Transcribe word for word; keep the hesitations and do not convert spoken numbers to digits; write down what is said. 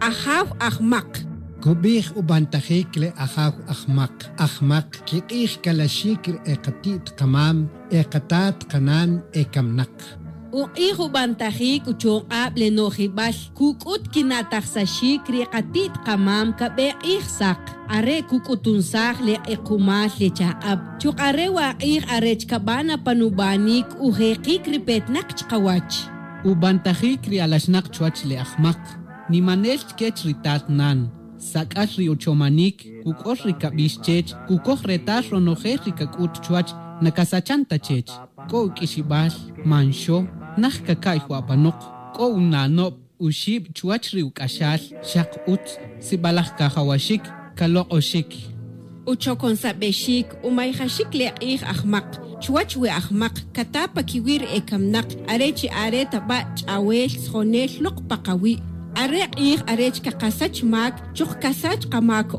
Ajaw ajmak. Cubij u bantajic le ajaw ajmak. Ajmak quik'ij calaxic ri e kati't kamam, e katat kanan, e camnak. U k'ij u bantajic u chonk'ab le no'jibal cuc'ut quina'tajsaxic ri kati't kamam cabe k'ij sak. Are' cuc'utunsaj le k'ekumal le chak'ab. Chuk'a re wa k'ij arech caban apan u banic u jekic ri petnak chkawach. U bantajic ri alaxnak chuwach le ajmak. Nimanel chquech ri tat nan. Sac'al ri u chomanic, cuc'ol ri cabix chech, cucoj retal ronojel ri cac'ut chuwach, nacasachan ta chech. C'o u q'uixibal, manxo, naj caca'y wa apanok. C'o u nanob, u xib chuwach ri u c'axal, xak utz, sibalaj cajawaxic, calok'oxic. U choconsabexic, u mayjaxic le k'ij ajmak. Chuwach we ajmak cata pa quiwi' ri e camnak, are chi are ta ba' ch'awel tzojonel lok pa kawi'. Are k'ij arech cakasach mac, choj casach kamac.